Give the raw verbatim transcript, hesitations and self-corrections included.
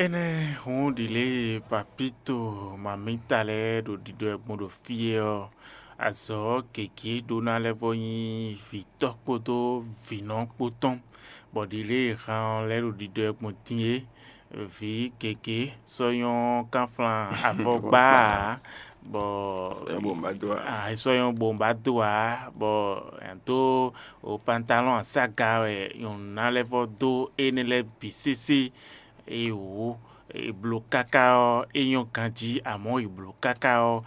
Énɛ́ hǔn ɖi lě e papíto mamíta lɛ́ɛ ɖo ɖiɖɔ ɛ gbɔn ɖo fí é ɔ́, azɔ̌ gěgé ɖó ná lɛ́ vɔ́ nyí vǐtɔ́ kpódó vǐnɔ kpó tɔn, bɔ ɖi lě e han ɔ́ lɛ́ ɖo ɖiɖɔ ɛ gbɔn din é. Vǐ gěgé sɔ́ nyɔ́ kánflán avɔgbá ǎ, bɔ Sɔ́ nyɔ́ bo má dó ǎ. Ah, é sɔ́ nyɔ́ bo má dó ǎ, bɔ è nǎ dó pantalɔ́n asága wɛ nyɔ̌nu ná lɛ́ vɔ́ dó énɛ́ lɛ́ɛ bǐ sésé. Eye wǒ, è blǒ káká ɔ́, é nyɔ́ ganjí, amɔ̌ è blǒ káká ɔ́,